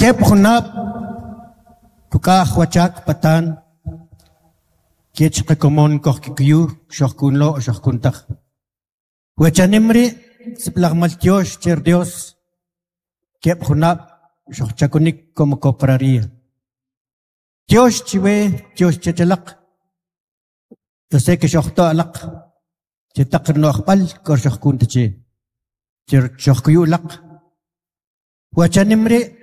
Keb' junab' kuk'aj wachak patan kech qakomon kojkikuyu xojkunlo xojkun taj. We chanim ri' sib'alaj maltyox che ri Dios keb' junab' xojchakunik como cofradía. Tyox chiwe, tyox chech alaq, yo sé que xojto' alaq che taq ri no'jb'al k'o xojkun ta che, che xojkuyu alaq. We chanim ri'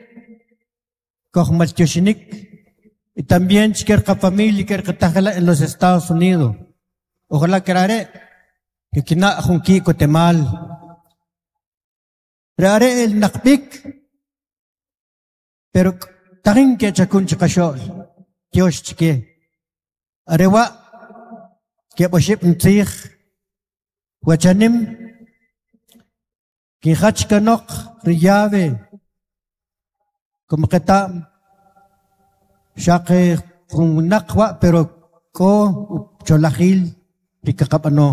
kojmaltyoxinik y también chike ri qafamilia ke ri qatajela en los Estados Unidos. Ojalá que are' kikina' jun ki'kotemal. Ri are' elinaq b'ik, pero tajin kechakun chiqaxo'l, tyox chike. Are wa' keb' oxib' ntzij we chanim kinjach kanoq ri llave como qeta'm xaq jun winaq wa' pero k'o ucholajil ri kaqab'ano.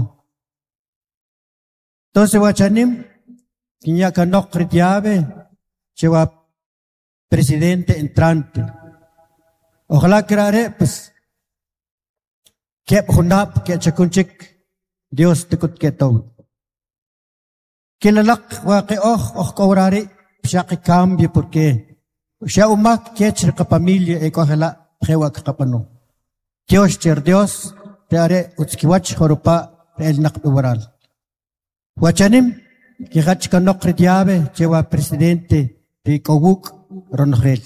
Entonces wa chanim kinya kanoq ri llave che wa presidente entrante. Ojalá que are' pues keb' junab' kechakun chik Dios tek'ut ketowik. Kilalaq wa oj oj k'o ri' xaq cambio porque xa umak kech ri qafamilia e k'o jela' jewa' kaqab'ano. Tyox che ri Dios ri are' utz kiwach joropa' ri elinaq b'i waral. Wa chanim kijach kanoq ri llave che wa presidente ri k'o wuk' ronojel.